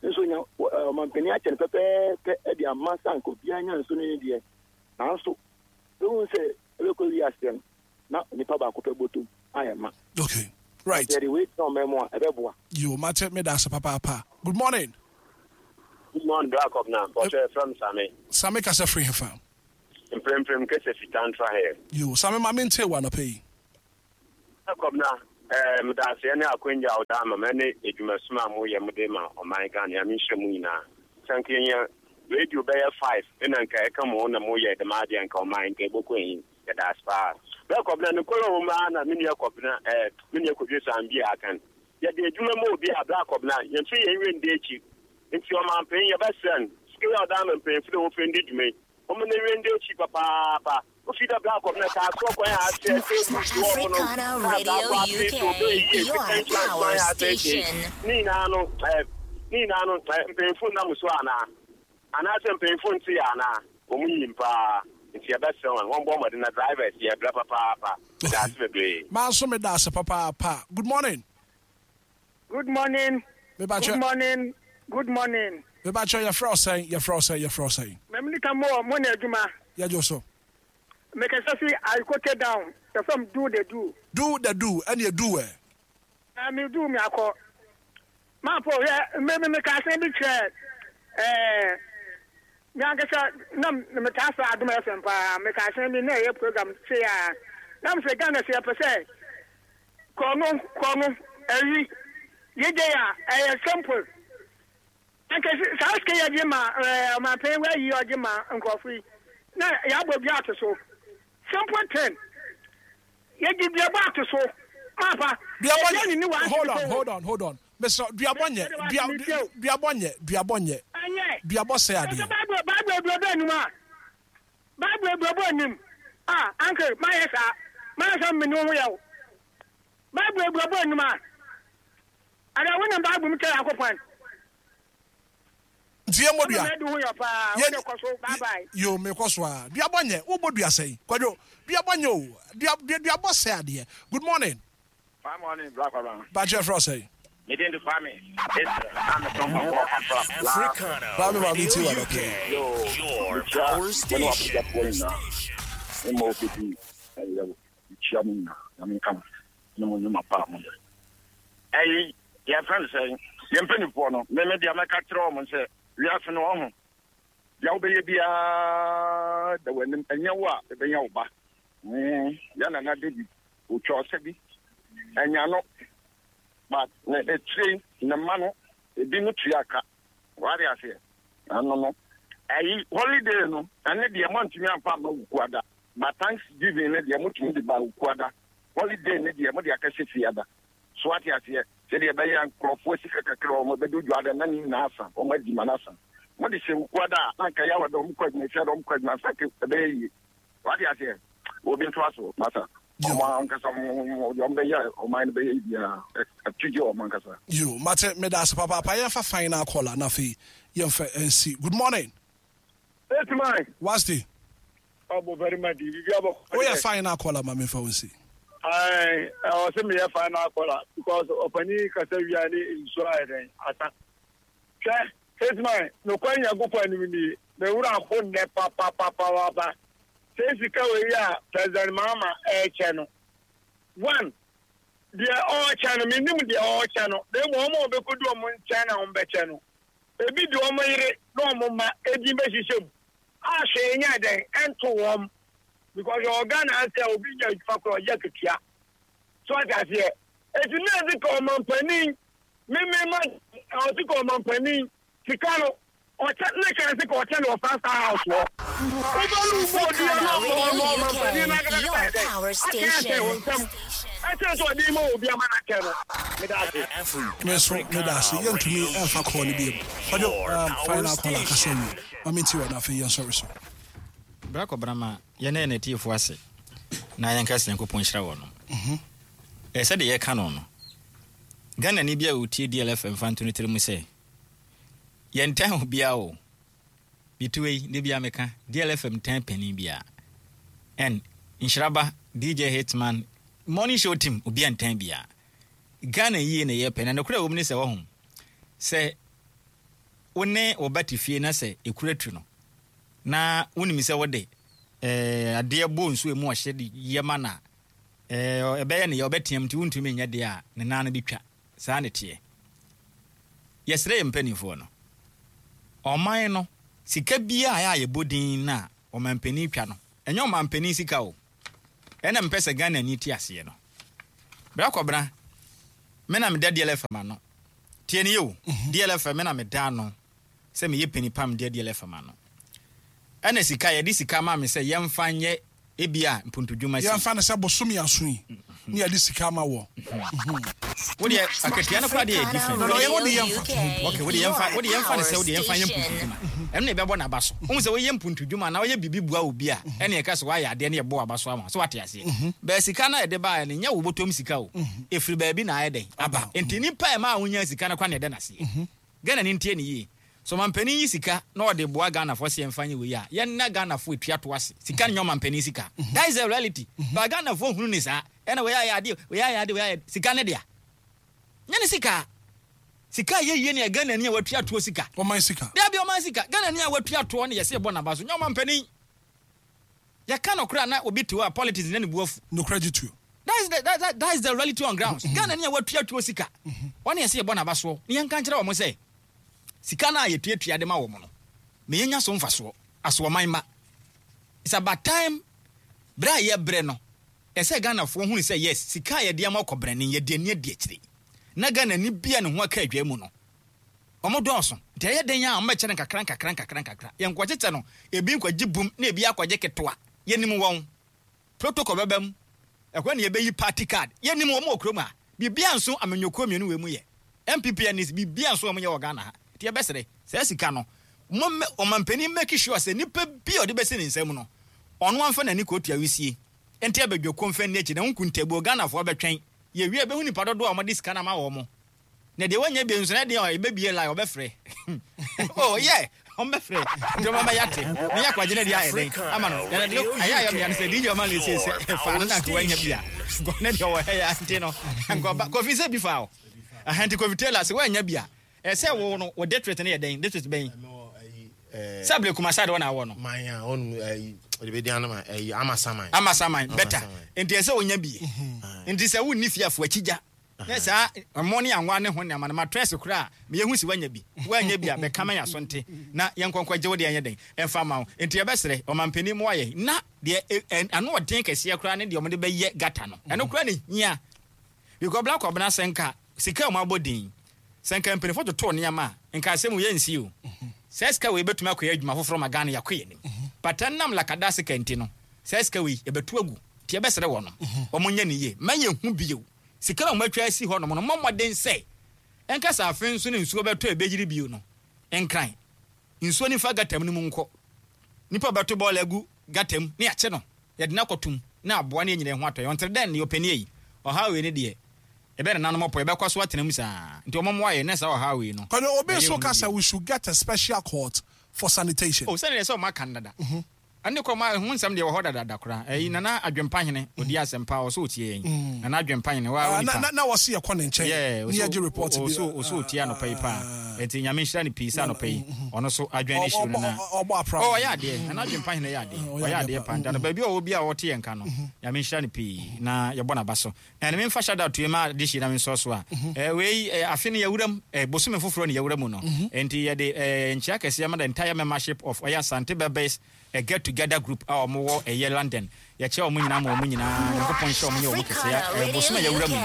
nso nya ɔmampanin akyɛ no pɛpɛɛpɛ ɛde ama sanka obiara nya nso no ne deɛ nanso obehu sɛ ɛbɛkɔ wie aseɛ no na nipa baako pɛ bɔtɔm ayɛ ma. Okay, right. Yɛde wei tena ɔman mu a ɛbɛboa. Yo, mate meda ase papaapa. Good morning. Good morning, Black Up now. But from Sami. Sami kasa free hefa. Mprem prem kese fitantra here. Yo, Sami ma mente wa no pay. Black Up now. Eh, meda ase ne akwanya a woda ama me ne adwumasoma a moyɛ mode ma ɔman Ghana. Nyame nhyira mu nyinaa. Sɛ nka yɛnya radio bɛyɛ five ɛna nka ɛka mo na moyɛ dɛm adeɛ, nka ɔman nka ɛbɔkɔ ahi. Yɛda ase paa. Bɛɛ Kɔbena nokorɛ wɔ mu ara na me nua Kɔbena, ɛɛ me nua Kwadwo Sambi a aka no. Yɛde adwuma ma obi a bra Kɔbena yɛmfa yɛn werɛ nda akyi. Nti ɔmanpanyin, yɛbɛsrɛ no, sika yi a ɔda ama mpanyimfo dɛ wɔmfa ndi dwuma yi, wɔn na werɛ nda akyi papaapa. Wofi da bra Kɔbena kaa soɔ kwan a asɛ table si hɔ no, Africana kaa Radio saa kɔ afei U K, so ɔbɛyɛ yie your sika insurance power kwan a asɛ station. Ne nyinaa no, ɛɛ ne nyinaa no, ɛɛ mpanyimfo nam so anaa anaasɛ mpanyimfo nte yɛ anaa wɔn nyim paa. Nti yɛbɛsrɛ wɔn, wɔn bɔ mmɔden na drivers yɛ brɛ papaapa. Ɛda ase bebree. Maa nso meda ase papaapa. Good morning. Good morning. Mebakyɛ. Good morning. Good morning. Mebakyɛ, yɛfrɛ wo sɛn? Yɛfrɛ wo sɛn? Yɛfrɛ wo sɛn? Mɛmini ka mo mo na adwuma. Yɛgye so. Mekasa fi Aikote down. Yɛfrɛ do the do. Do the do, ɛne do ɛ. Na mi do mi akɔ. Maapo yɛ mmemme mi ka asɛm bi kyerɛ ɛɛ mi ankasa na mi taa fɛ Adum F M paa. Mi ka asɛm bi na ɛyɛ program se a na mi sɛ Ghana sɛ yɛpɛ sɛ kɔɔno kɔɔno ɛyi yegye a ɛyɛ simple. Nka saa sika yɛ gye ma ɛɛ ɔmanpanyin wa yi ɔgye ma nkurɔfo yi na yɛabɔ dua ato so, simple thing, yɛgye duabɔ ato so maapa. Duabɔ Ɛdeɛ ne ne nyɛ. wa Hold on, hold on, hold on. Mister Duabɔ nyɛ. Dua duabɔ nyɛ. Duabɔ nyɛ. Ɛnyɛ. Duabɔ sɛ adeɛ. Ɛsɛ Bible Bible aduabɔ anim a Bible aduabɔ anim a anke mayɛ saa mayɛ saa mmeni ho yɛ o. Bible aduabɔ anim a ada wonam Bible mu kyerɛ Yankopɔn. Nti yɛ mmɔ dua. Ɛna ho yɛ paa. Yɛ- Wode kɔ so, bye bye. Yo, mekɔ so a. Duabɔ nyɛ. Wobɔ dua sɛn? Kwadwo, duabɔ nyɛ o. Dua dua duabɔ sɛ adeɛ. Good morning. Fine morning, Black Kwabena. Bakyɛ, frɛ wo sɛn? Me din de Kwame. Israel. I'm a from Africana Kwame Maame Radio ti wa U K, dɔkɛ. your power station. Mo obi ɛyɛ kyia mo nyinaa na menka mo ne mo nnwuma pa a moyɛ. Ɛyi yɛfrɛ no sɛ yɛn mpanimfoɔ no, meme deɛ mɛka kyerɛ wɔn sɛ wiase no ɔho deɛ wobɛyɛ biara da w'anim, ɛnyɛ wo a ɛbɛnya wo ba. Mm, yɛ Nana David otwa ɔsɛ bi ɛnya no, but na akyire ne mma no ebi no tua ka wade aseɛ. Ɛno no ɛyi holiday no, ɛne deɛ moantumi amfa amma Wukuada, but Thanksgiving ne deɛ motumi de ba Wukuada. Holiday ne deɛ mode akɛhyɛ Fiada so, ate aseɛ, sɛdeɛ ɛbɛyɛ nkurɔfoɔ sika kakra wɔn bɛdu Dwoada na ne nyinaa asa, wɔn adi ma no asa. Mode hyɛ Wukuada a, na nka Yawada wɔn kɔ adwuma, Fiada wɔn kɔ adwuma, sa ɛbɛyɛ yie, wate aseɛ. Obi nto aso masa ɔmo ankasa deɛ ɔmo bɛyɛ ɔman no bɛyɛ biara ɛto gye ɔmo ankasa. Yo, mate, meda ase papaapa. Yɛmfa final caller na afei yɛmfa nsi. Good morning. Eight man. Wasti. Ɔbɔ very much. Bibi abɔ. Woyɛ final caller, ma memfa wo nsi. Ayi, ɔsɛ mi yɛ final caller because ɔpanin kasa wia ne nsuo ayɛ dɛn asa. Hwɛ, eight man, nokwa Nyankopɔn anim nie, mewura ho nnɛ papapapapa. Sɛ sika wei a President Mahama ɛɛkyɛ no, one, deɛ ɔɔkyɛ no, menim deɛ ɔɔkyɛ no, na emu wɔn a wɔbɛkɔdu wɔn nkyɛn na wɔn bɛkyɛ no, ebi de wɔn yere na wɔn mma edin bɛhyehyɛ mu a hwee nyɛ dɛn ɛnto wɔn, because ɔwɔ Ghana sɛ obi nya adwuma korɔ ɔyɛ ketua so, ɔte aseɛ. Eti na edi ka ɔmampanin mímí ma ɔsi ka ɔmampanin sika no ɔkyɛ ne kan sika ɔkyɛ no wɔ five star house hɔ wobɛlu bɔ odi Africana ɛna Radio ɔmampanin U K, n'ankasa your yɛ dɛ power akyɛ akyɛ wɔn station. nsam ɛkyɛ sɛ ɔde ma obi ama n'akyɛ no. Meda ase. Me nso meda ase. Yɛntumi ɛmfa call no biom. Kwadwo, um, final caller kasa wie ma menti wɔ no, afei yɛnsɔre so. Bra Kɔbrama, yɛne yɛn atiefoɔ ase na yɛnka sɛ Nyankopɔn nhyira wɔ no. Ɛ sɛdeɛ yɛka no no Ghana ni bi a wɔtie D L F M fa nto no tiri mu sɛ yɛntan obiaa o. Metuo yi ne bia meka D L F M tan panin biaa ɛn Nhyiraba D J Hitman morning show team, obia ntan biaa. Ghana yie na yɛpɛ na nokorɛ wɔ mu ne sɛ wɔho sɛ wo ne wo ba te fie na sɛ ɛkura tu no na wonim sɛ wode eh, adeɛ bɔ nsuo mu ɔhyɛ de yɛ ma no a, eh, ɛbɛyɛ ne yɛ ɔbɛteam nti wontumi nyɛ deɛ a ne nan no bɛtwa. Saa ne teɛ. Yɛsrɛ yɛ mpanimfoɔ no, ɔman no sika biaa a yɛbɔ din no a ɔmampanin twa no, ɛnyɛ ɔmampanin sika o. Ɛna mpɛ sɛ Ghana ni te aseɛ no, Bra Kɔbena. Me na meda D L F M ano. Tie ne yɛ o. D L F M, me na meda ano sɛ meyɛ panipam deɛ D L F M ano. Ɛna sika, yɛde sika ma me sɛ yɛmfa nyɛ ebi a mpuntudwuma si. Yɛmfa no sɛ bosome aso yi ne yɛde sika ma wɔ. Wodeɛ akatua no koraa deɛ yɛ different. No, no, yɛ wode yɛmfa. Okay, wode yɛmfa wode yɛmfa ne sɛ wode yɛmfa nyɛ mpuntudwuma. Ɛno na ɛbɛbɔ n'aba so. Wohu sɛ woyɛ mpuntudwuma na woyɛ biribi bua obi a, ɛne ɛka sɛ woayɛ adeɛ ne yɛbɔ w'aba so ama so, wate aseɛ. Bɛɛ sika no a yɛde baeɛ no, nyɛ wo bɔtɔm sika o. Ɛfiri baabi na ayɛ dɛn aba. Nti nipa a ɛma a wonya sika no kwa ne ɛda n'aseɛ. Ghana ni ntie ne yie. So ɔmampanin yi sika na ɔde boa Ghanafoɔ sɛ yɛmfa nyɛ wei a, yɛnna Ghanafoɔ etua to ase. Sika no nyɛ ɔmampanin sika. That is the reality. But Ghanafoɔ hunu ne saa. Ɛna wei ayɛ adeɛ, wei ayɛ adeɛ, wei ayɛ sika ne dea. Nyɛ ne sika. Sika a yɛyie ne yɛ Ghana ni a watua toɔ sika. Ɔman sika. Dabi, ɔman sika. Ghana ni a watua toɔ ne yɛsɛ yɛbɔ n'aba so. Nyɛ ɔmampanin. Yɛka no koraa na obi te hɔ a politics ne ne bu afu. Nokorɛ gye tuo. That is the that, that, that is the reality on ground. Ghana ni a watua tuo sika. Wɔne yɛsɛ yɛbɔ n'aba soɔ. Ne yɛnka nkyerɛ wɔn sɛ sika no a yɛtuatua de ma wɔn no, ma yɛnya so mfasoɔ asoɔman ma. It's about time berɛ a yɛbrɛ no, ɛsɛ Ghanafoɔ hunu sɛ yes, sika a yɛde ama ɔkɔbrɛne, yɛde ani adi akyire. Na Ghana ni bia ne ho aka adwa mu no, ɔmo dɔɔso. Nti ɛyɛ den a ɔmo bɛkyɛ no nkakra nkakra nkakra nkakra. Yɛnkɔkyekyɛ no, ebi nkɔgye bum na ebi akɔgye ketewa. Yɛnim wɔn. Protocol bɛba mu. Ɛhɔ ne yɛbɛyi party card. Yɛnim wɔn wɔ kurom a. Biribia nso amanyɔkuo mmienu wɔ mu yɛ. N P P N D C, biribia nso wɔn yɛ wɔ Ghana ha. Nti yɛbɛsrɛ saa sika no, mo mmɛ ɔmampanin make sure sɛ nipa bi a ɔde bɛsi ne nsam no, ɔno amfa n'ani kɔtua wisie. Nti abadwako mfa nni akyi na nkuntabuo Ghanafoɔ bɛtwɛn. Yɛwie a bɛhu nipa dodoɔ a wɔde sika no ama wɔn. Na deɛ wɔnyɛ bi nso na deɛ ɛbɛbie line ɔbɛfrɛ. Oh yeah, ɔmbɛfrɛ. Nti ɔmo bɛyɛ ate. Ne yɛ akɔgye ne deɛ ayɛ dɛn ama no. Na deɛ ayɛ ayɛ mmea no sɛ D J ɔma no sɛ sɛ fa no na nka wanya bi a. Nkɔ ne deɛ ɔwɔ ha yɛ ante no. Nkɔ ba Kofi sɛ bi fa o. Aha, nti Kofi Taylor sɛ wanya bi a, ɛsɛ wo no wo district no yɛ dɛn? District bɛn? Sɛ abiri Kumasi de wɔn na awɔ no. Manya ɔnum ɛyi ɔde bɛ di anam ɛyi Amasaman. Amasaman better. Nti ɛsɛ wonya bi. Nti sɛ wonni fie afo akyi gya. Ne saa ɛmo ne anwa ne ho nneɛma no matress koraa meyɛhu si wanya bi. Wanya bi a, bɛka ma yɛ aso nte na yɛnkɔnkɔ gye wo deɛ ɛnyɛ dɛn ɛmfa ma wo. Nti yɛbɛsrɛ ɔmampanin mu ayɛ na deɛ ano ɔden kɛseɛ koraa ne deɛ ɔmode bɛyɛ gutter no. Ɛno koraa ne hia because Black Ɔbena, sɛ nka sika a ɔmo abɔ din sɛ nka mpanimfoɔ totoo nneɛma a, nka asɛm yɛ nsi o. Sɛ sika wei bɛtumi akɔyɛ adwuma foforɔ ma Ghana yɛakɔ yɛ anim, but ɛnam lakada sika nti no, sɛ sika wei yɛbɛto agu. Nti yɛbɛsrɛ wɔ no, ɔmo nyɛ ne yie ma yɛhu bio. Sika na ɔmo atwa asi hɔ nom no, mmɔ mmɔden sɛ ɛnka sɛ afe nso ne nsuo bɛtɔ a ɛbɛyiri bio no, Nkran nsuo nifa gutter mu no mu nkɔ. Nipa bɛto bɔɔla agu gutter mu ne yɛakye no, yɛde no akɔtom na aboa ne yɛnyina ho atɔ yɛ ɔntere dɛn ne ɔpɛni yi. Ɔhaw wei ne deɛ ɛbɛ nananom ɔpɔ yɛbɛkɔ so atena mu saa, nti ɔmo mmoa yɛ ne saa ɔhaw wei no. Kɔni obi nso ka sɛ we should get a special court for sanitation. O, sɛne deɛ sɛ ɔmo aka no dada, ɛne kɔ ma ho nsɛm deɛ wɔ hɔ dadada koraa. Ɛyi Nana Adwempahene odi asɛmpa ɔsɛ otie yɛn. Nana Adwempahene wa onipa na na wɔsi yɛ kɔ ne nkyɛn ne yɛ gye report bi. ɔsɛ ɔsɛ otie anɔpa yi paa, nti Nyame nhyira ne pii sɛ anɔpa yi ɔno so adwene ne hyiro no na ɔbɔ apra. Ɔ ɔyɛ adeɛ. Nana Adwempahene yɛ adeɛ, ɔyɛ adeɛ paa. Nti anɔpa bi a ɔwɔ bi a ɔte yɛn ka no, Nyame nhyira ne pii na yɛbɔ n'aba so. Ɛna memfa shout out ma adehye na mensɔ so a ɛɛ wei ɛɛ afe no yɛwura mu, ɛɛ bosome foforɔ ne yɛwura mu no, nti yɛde ɛɛ nkyia kɛseɛ ma the entire membership of ɔyɛ Asante Bɛbɛs a get together group a wɔn wɔ ɛyɛ London. Yɛkyɛ wɔn nyinaa ma wɔn nyinaa Nyankopɔn nhyɛ wɔn nyɛ wɔn kɛseɛ. Ɛɛ bosome a yɛwura mu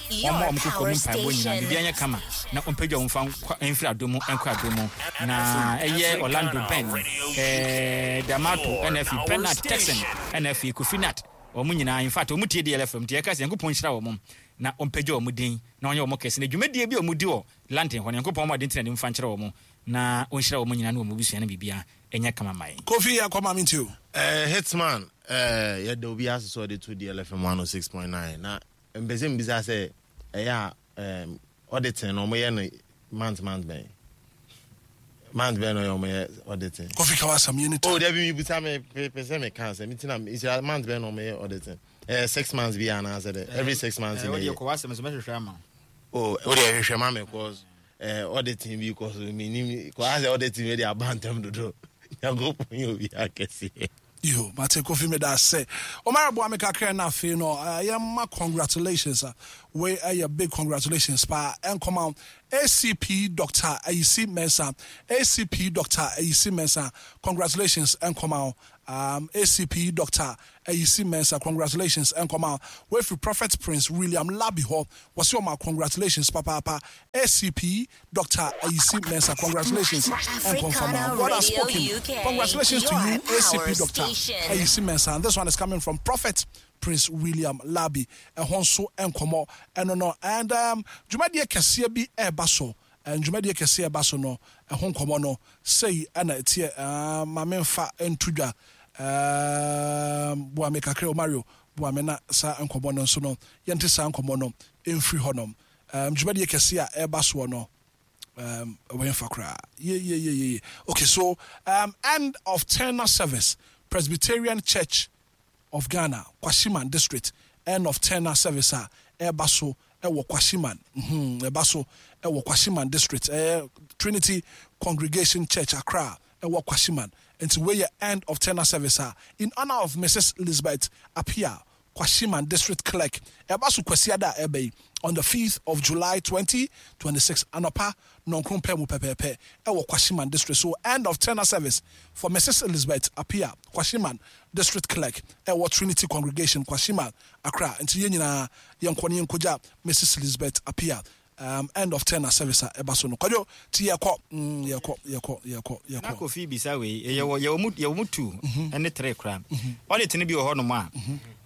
yi, wɔn ma wɔn koko mu mpaebɔ nyinaa biribiara nyɛ kama na ɔmpagya wɔn fa nkɔ mfiri adom mu nkɔ adom mu. Na ɛyɛ Orlando Ben, ɛɛ Damato, ɛna afi Bernard Texan, ɛna afi Kofi Nat, wɔn nyinaa, in fact wɔn tie D L F M. Nti yɛka sɛ Nyankopɔn nhyira wɔn na ɔmpagya wɔn din na ɔnyɛ wɔn kɛse na dwumadie bi a wɔn di wɔ London hɔ no, Nyankopɔn wɔn ade ntina ne mfa nkyerɛ wɔn na ɔnhyira wɔn nyinaa ne wɔn abusua no biribiara ɛnyɛ kama ma yɛn. Kofi, yɛ kɔ maame nti o. Uh, hitman, uh, yɛda obi ase sɛ ɔde to D L F M one oh six point nine, na mpɛ sɛ mbisa sɛ ɛyɛ a um, auditing no ɔmoyɛ no month month bɛn month bɛn no ɔyɛ ɔmoyɛ auditing? Kofi, ka wasɛm yɛ ne ta. Oh, dabi, mebisa me pɛ sɛ meka sɛ metina nhyira month bɛn na ɔmoyɛ auditing? uh, six months bi anaasɛ dɛ every six months? Na ɛyɛ kɔ wasɛm so mɛhwehwɛ ama. Oh, wode ɛhwehwɛ ma me cause uh, auditing bi kɔ so menim kɔ asɛ auditing bi de aba ntɛm dodo. Nyankopɔn yɛ obi akɛseɛ. Yo, mate. Kofi, meda ase. Ɔmara boa me kakra na afei no uh, yɛma congratulations a Wei ɛyɛ big congratulations paa ɛnkɔma A C P Doctor Ayisi Mensah. A C P Doctor Ayisi Mensah, congratulations ɛnkɔma um, A C P Doctor Ayisi Mensah, congratulations ɛnkɔma wefiri Prophet Prince William Labi hɔ. Wɔsi ɔma congratulations papaapa. A C P Doctor Ayisi Mensah, congratulations ɛnkɔmfama. God has spoken. Congratulations to you, A C P Doctor Ayisi Mensah, and this one is coming from Prophet Prince William Labi. Ɛhɔ nso nkɔmɔ ɛno no. And um, dwumadie kɛseɛ bi ɛreba so. Dwumadie kɛseɛ ɛba so no, ɛho nkɔmɔ no sei ɛna ɛteɛ. uh, maame nfa nto dwa. um, boa me kakra o, Mario, boa me na saa nkɔmɔ no nso no, yɛnte saa nkɔmɔ no mfiri hɔnom. um, dwumadie kɛseɛ a ɛreba soɔ no, um, wɔyɛmfa koraa ye ye ye ye. Okay, so um, end of tenure service, Presbyterian Church of Ghana, Kwashiman District, end of tenure service a ɛreba so ɛwɔ Kwashiman, mhm, ɛba so ɛwɔ Kwashiman District, ɛyɛ Trinity Congregation Church, Accra, ɛwɔ Kwashiman. Nti wei yɛ end of tenure service a in honour of Missus Elizabeth Apia, Kwashiman District Clerk. Ɛba so Kwasiada a ɛbɛ yi, on the fifth of July twenty twenty-six, anɔpa nɔnkron pɛ mu pɛpɛɛpɛ, ɛwɔ Kwashiman District. So end of tenure service for Missus Elizabeth Apia, Kwashiman District Clerk, ɛwɔ Trinity Congregation, Kwashiman, Accra. Nti yɛn nyinaa yɛnkɔ ne yɛnkɔgya Missus Elizabeth Apia, um, end of tenure service a ɛba so no. Kwadwo ti, yɛkɔ, mm, yɛkɔ, yɛkɔ, yɛkɔ, Na yɛkɔ. Kofi bisa wei, yɛwɔ yɛwɔ mu yɛwɔ mu two ɛne three koraa. Audit no bi wɔ hɔnom a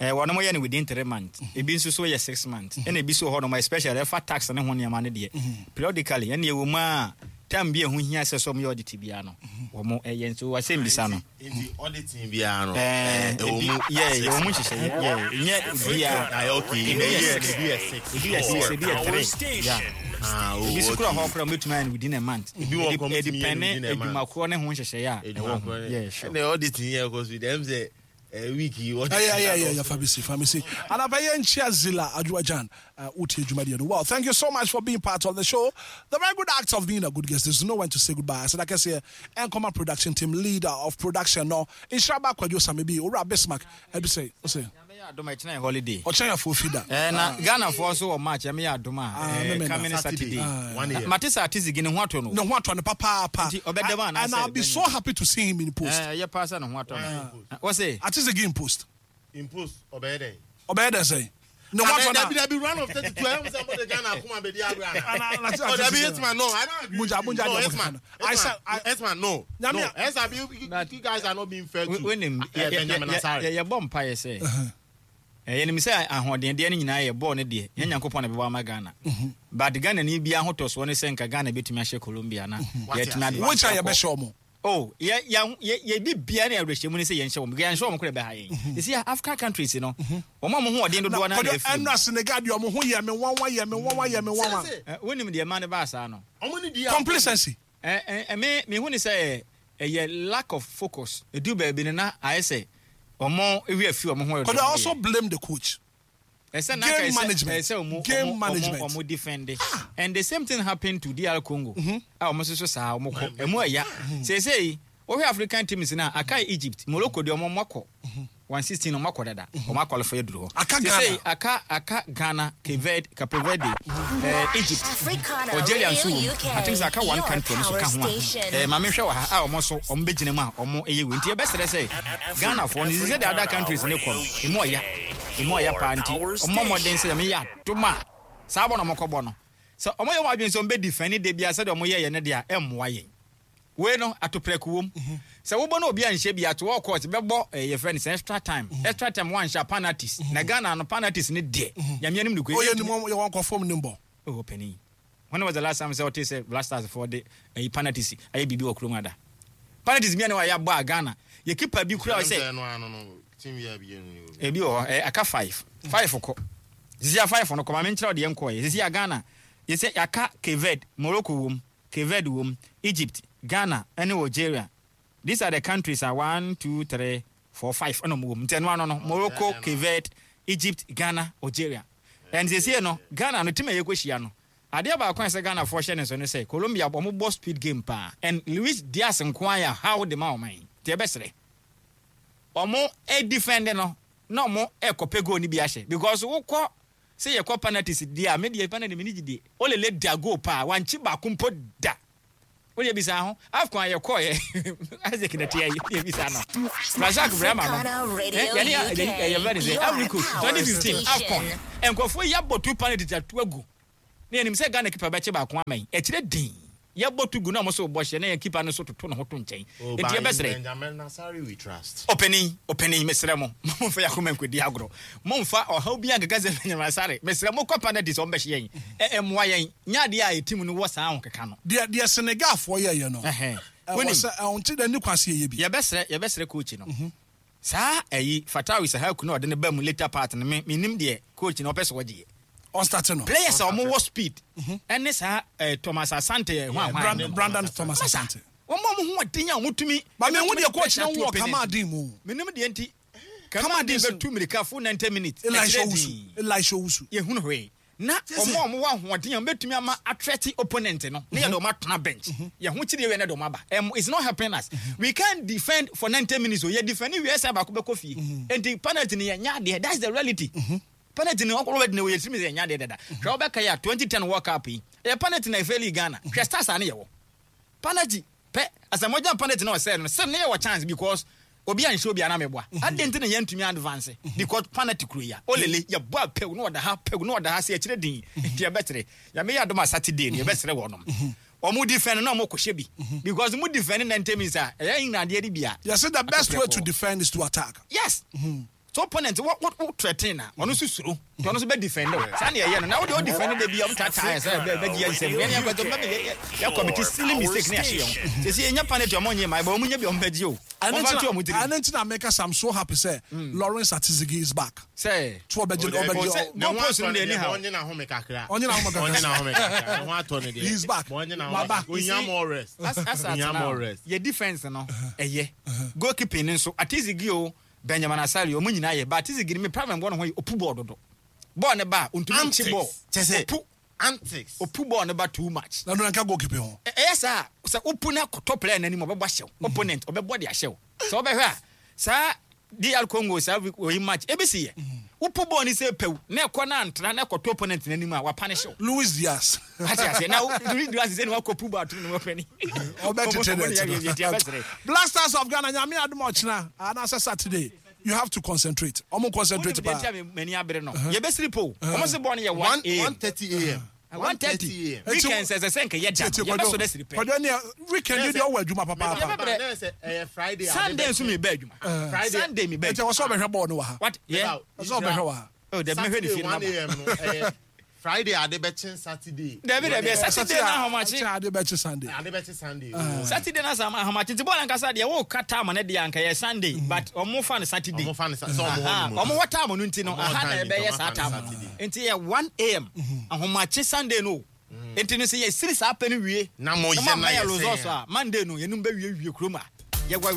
ɛɛ wɔnom yɛ no within three months, ebi nso so yɛ six months, ɛna ebi so wɔ hɔnom a, especially ɛfa tax ne ho nneɛma no deɛ, periodically. Ɛna ɛwɔ mu a time bi a ɛho hia sɛ sɛ ɔmo yɛ audit biara no, wɔn ɛyɛ. Nso wasɛm bisa no. Nti auditing biara no, ɛɛ ɛwɔ ebi mu. Yɛ yɛwɔ mu nhyehyɛ yɛ nyɛ biara. Ayɛ okay. Ebi In a yɛ year, six, ebi yɛ six. ebi yɛ six, ebi yɛ three, yeah. Ah, oh, Ebi so kura okay. hɔ kora mbɛtumi ayɛ no within a month. Ebi wɔ kɔ mbɛtumi yɛ no ɛdepend within a month. adwumakorɔ ne ho nhyehyɛeɛ a ɛwɔ ho. Yeah, sure. Ɛna auditing yɛ kɔ so dɛm sɛ eh, week yi Yeah, yeah, yeah, yeah, yeah, Fabisi, Fabisi. And Abaye Zilla Ajuajan, uh, Uti Jumadi. Well, thank you so much for being part of the show. The very good act of being a good guest. There's no one to say goodbye. I said, like I say, Nkoma production team, leader of production, no. Inshraba Kwadwo Samibi, Ora Bismarck, Ebi say, o say. Adom, ɛkyena yɛ holiday. Ɔkyɛn yɛ fofida. Eh, na Ghanafoɔ nso wɔ match, ɛmɛ yɛ adom a Ah, eh, memenda. coming Saturday. Ah. Na- mate sɛ Atizigi ne ho atɔ no. Ne ho atɔ no papaapa. Nti ɔbɛda mu anaasɛ And I'll be so happy to see him in post. Eh, ɛyɛ paa sɛ ne ho atɔ no. Wɔ se Atizigi in post. In post, ɔbɛyɛ dɛn? Ɔbɛyɛ dɛ sɛn? Ne ho atɔ na. Dabi, dabi, round of thirty two ɛyɛ sɛ mo de Ghana akoma bɛ di agorɔ ana? Oh, dabi, Hitman, no, I don't agree Munja, with you. Munja, No, deɛ Hitman, mo keka no. I said- I- Hitman, no, Nyame no, a- Esa, you, you, you guys are not being fair to wonim eh, Benjamin Asare. yɛbɔ mpaeɛ sɛ yɛnim sɛ ahoɔdendeɛ no nyinaa yɛ bɔɔl no deɛ, yɛn Nyankopɔn na bɛbɔ ama Ghana, but Ghana ni bia ahotɔsoɔ ne sɛ nka Ghana bɛtumi ahyɛ Colombia na yɛtumi advance Which a akɔ. yɛbɛhyɛ ɔmo. Oh, yɛ yɛ yɛ yɛbi bia ne awerɛhyɛmu ne sɛ yɛnhyɛ wɔn, yɛnhyɛ wɔn koraa bɛha yɛn. Yɛsi African countries no, wɔn a wɔn ho ɔden dodoɔ Na no na Kwadwo ɛfiri mu. ɛnura Senegal deɛ, ɔmo ho yɛ me nwanwa, yɛ me nwanwa, yɛ me nwanwa. Eh, wonim deɛ ɛma no baa saa no? Complacency. Ɛ ɛ ɛme mehu ne sɛ ɛyɛ lack of focus. Edu baabi no na ayɛ sɛ ɔmo ewi afi ɔmo ho. Kwadwo, I also blame the coach. Ɛsɛ na Game ɛsɛ management. Ɛsɛ ɔmo Game ɔmo management. ɔmo ɔmo defend, and the same thing happened to D R Congo a ɔmo nso so saa ɔmo kɔ ɛmu ɛya seesei. Wohwɛ African teams na aka Egypt, Morocco deɛ, ɔmo ɔmo akɔ one sixteen, ɔmo akɔ dada, ɔmo akɔlifɔ aduru hɔ. Aka Seesei, Ghana. aka aka Ghana, Cape Verde, Cape Verde, ɛɛ Egypt, Africana Algeria nso Radio wɔ mu. U K, I think sɛ aka one your country ɔmo nso ka ho power a station. ɛɛ maame hwɛ wɔ ha a ɔmo nso ɔmo bɛgyina mu a ɔmo ɛyɛ wei. Nti yɛbɛsrɛ sɛ Ghanafoɔ no sɛ the other countries ne kɔ no, emu ɔya, emu ɔya paa. Nti ɔmo mmɔden sɛ yɛmɛ yɛ adom a saa bɔ na ɔmo kɔbɔ no sɛ ɔmo yɛ wɔn adwene sɛ ɔmo bɛ defend de bia sɛdeɛ ɔmo yɛ yɛ no deɛ a, ɛmmoa yɛn. Wei no atoprɛko wom sɛ wobɔ no obi anhyɛ bi ato wɔ court bɛbɔ eh, yɛfrɛ no sɛ extra time, extra time wanhyɛ a, penalties. Na Ghana no penalties ne deɛ, Nyame anim no. Oyɛ nim yɛ wɔn kɔ fam nim bɔ. Oh, panin, when was the last time sɛ ɔte sɛ Black Stars foɔ de ɛyi penalties ayɛ biribi wɔ kurom ada? Penalties bi a ne wayɛ abɔ a Ghana yɛ keeper bi kura sɛ Ɛno ano no, team yɛ abien no. Ebi wɔ hɔ ɛ aka five five kɔ sisi a five no kɔ. Maame nkyerɛw deɛ nkɔɔ yɛ sisi a Ghana yɛsɛ yɛaka Cape Verde, Morocco wom, Cape Verde wom, Egypt, Ghana ɛne Algeria. These are the countries a one, two, three, four, five ɛna ɔmo wɔ mu. Nti ɛno ano no, Morocco, Cape Verde, Egypt, Ghana, Algeria. And sisi no Ghana no team a yɛkɔ hyia no, adeɛ baako a ɛsɛ Ghana foɔ hyɛ ne so ne sɛ Colombia ɔmo bɔ speed game paa, and Luis Diaz nko ayɛ how de ma ɔman yi. Nti ɛbɛsrɛ ɔmo ɛdefend no na ɔmo ɛkɔpɛ goal ni bi ahyɛ, because wokɔ Sɛ yɛkɔ penalties deɛ a, me deɛ penalty me ni gyidie. Olele da goal paa, wankye baako mpo da. Wodeɛ bisa ho, AFCON a yɛkɔɔyɛ, Isaac na tia yi, wodeɛ bisa no. Razak Brahma no, yɛne yɛfrɛ no sɛ Ivory Coast, twenty fifteen AFCON, nkurɔfoɔ yi abɔ two penalties ato agu. Na yɛnim sɛ Ghana keeper bɛkye baako ama yi, ɛkyerɛ din. Yɛbɔ to gu na ɔmo so bɔ hyɛ na yɛn keeper no so toto ne ho to nkyɛn. Oh, Enti yɛbɛsrɛ. Benjamin Asare we trust. Ɔpanin, ɔpanin, mesrɛ mo, momfa yɛn akoma nkɔdi agorɔ. Momfa ɔhaw bi ankeka sɛ Benjamin Asare. Mesrɛ mo kɔ penalties ɔmo bɛhyɛ yɛn. Ɛ ɛmmoa yɛn. Nyɛ adeɛ a yɛ team no wɔ saa ahokeka no. Deɛ deɛ Senegalfoɔ yɛyɛ no. Ɛhɛn. Ɛwɔ Wonim. sɛ ɛwɔ nti dɛ ne kwan se yɛyɛ bi. Yɛbɛsrɛ yɛbɛsrɛ coach no. Saa ɛyi Fatawu Issahaku na ɔde ne ba mu later part no me menim deɛ coach no ɔpɛ sɛ ɔgye yɛ. Ɔstart no. Players a wɔn wɔ speed ɛne saa eh, Thomas Asante yɛ hwan hwan. Brandon Brandon Thomas Asante. Wɔn a wɔn ho ɔden a wɔn tumi. Ba me hu deɛ coach no wɔ Kamaldeen mu. Menim deɛ nti. Kamaldeen bɛtu mirika full ninety minutes. Elisha Ɛkyerɛ Owusu. din. Elisha Owusu. Yɛhunu hwee. Na wɔn a wɔwɔ ahoɔden a wɔbɛtumi ama atrɛte opponent no ne yɛde wɔn atena bench. Yɛn ho kyerɛ yɛ ne de wɔn aba. Um, it's not helping us. We can't defend for ninety minutes o. Yɛ defend wie sɛ baako bɛkɔ fie. Nti penalty ni yɛ nya adeɛ. That's the reality. Penalty ni ɔkɔrɔ bɛ di na wɔyɛ tirim sɛ yɛ nya adeɛ dada. Hwɛ ɔbɛka yɛ a twenty ten World Cup yi. Ɛyɛ penalty na efail Ghana. Hwɛ stars a ne yɛ wɔ. Penalty pɛ asamoah penalty na ɔsɛ no sɛ ne yɛ wɔ chance because obi anhyɛ obi anam ɛboa. Adi nti na yɛntumi advance because penalty kuro yi a olele yɛ bɔ a pɛw na ɔda ha pɛw na ɔda ha sɛ ɛkyerɛ din nti yɛbɛkyerɛ yɛmɛ yɛ adom a Saturday no yɛbɛsrɛ wɔnom wɔn defend na wɔn kɔhyɛ bi because mo defend ninety minutes a ɛyɛ nyina adeɛ de bi a. Yɛsɛ the best way to defend is to attack. Yes. So opponent wo wo wo threaten na ɔno nso suro nti ɔno nso bɛ defend o saa na yɛyɛ no na wo de o defend de bi a ɔmo taataa yɛ sɛ bɛ bɛ di yɛ nsɛm yɛn yɛn kɔtɔ mbɛ yɛ yɛ commit silly mistake ne yɛahyɛ yɛn ho sisi yɛn nya penalty ɔmo nye ma ɛbɛ ɔmo nya bi ɔmo bɛ gye o ɔmo fa to ɔmo tiri. Ɛno nti na meka sɛ I'm so happy sɛ Lawrence Atizigi is back. Sɛ To ɔbɛgye ɔbɛgye sɛ goal post no deɛ ni ha. Ɔnye n'ahome kakra. Ɔnye n'ahome kakra. Ɔnye n'ahome kakra. Ne ho atɔ ne deɛ. He's back. Ɔnye n'ahome Waba. kakra. Onya more rest. As as Onya at more now rest. yɛ defence no ɛyɛ goalkeeping no nso Atizigi o Benjamin Asare ɔmo nyinaa yɛ but Atizigi ni mi problem bɔ ne ho yɛ opu bɔɔl dodo bɔɔl ne ba ontumi nkye bɔɔl Kyɛ sɛ opu antics. opu bɔɔl ne ba too much. Na no nka goalkeeping ho. Ɛ- ɛyɛ saa sɛ wopu na kɔtɔ player n'anim ɔbɛbɔ ahyɛw opponent ɔbɛbɔ de ahyɛw sɛ ɔbɛhwɛ a saa D R Congo saa oyi match ebi si yɛ wopu bɔɔl ni sɛ pɛw na ɛkɔ na antra na ɛkɔtɔ opponent n'anim a wapunish wo. Luis Diaz. Ate aseɛ na Luis Diaz sɛ ne wakɔ pu bɔɔl ato ne wɔpɛ ni. Ɔbɛtete ne Black Stars of Ghana nyame adom ɔkyena anaasɛ Saturday you have to concentrate. Ɔmo concentrate paa. Paa. M'ani abere no yɛbɛsiri po ɔmo sɛ bɔɔl no yɛ one a m One thirty a m. one thirty weekend sɛ sɛ sɛ nkɛ yɛ da no yɛbɛsɔ dɛ siri pɛ. Kwadwo ne weekend yi deɛ ɔwɔ adwuma papaapa. Yɛbɛbrɛ. Na sɛ ɛyɛ Friday. Sunday nso mi bɛ adwuma. Friday. Sunday mi bɛ Ɛnti ɛwɔ sɛ ɔbɛhwɛ bɔɔl no wɔ ha. What? Yeah. Ɛwɔ sɛ ɔbɛhwɛ wɔ ha. Oh, dabi mehwɛ ne fie no Saturday one naba. a m no ɛyɛ Friday ade bɛkye Saturday. Dabi dabi Saturday na ahomakye. Ade bɛkye Sunday. Ade bɛkye Sunday. Saturday na sama ahomakye nti bɔɔl ankasa deɛ wɔn ka time no deɛ anka yɛ Sunday but ɔmo fa no Saturday. Ɔmo fa no sa- sɛ ɔmo hɔ Aha, nom no. ɔmo wɔ time no nti no Ɔmo wɔ aha na time nti ɛbɛyɛ ɔmo saa fa no time no Saturday. nti yɛ one a m ahomakye Sunday no nti no sɛ yɛsiri saa pɛ no wie Na mo yɛ na na yɛ yɛ sɛn results a. a Monday no yɛnum bɛ wie wie kurom a yɛwɔ.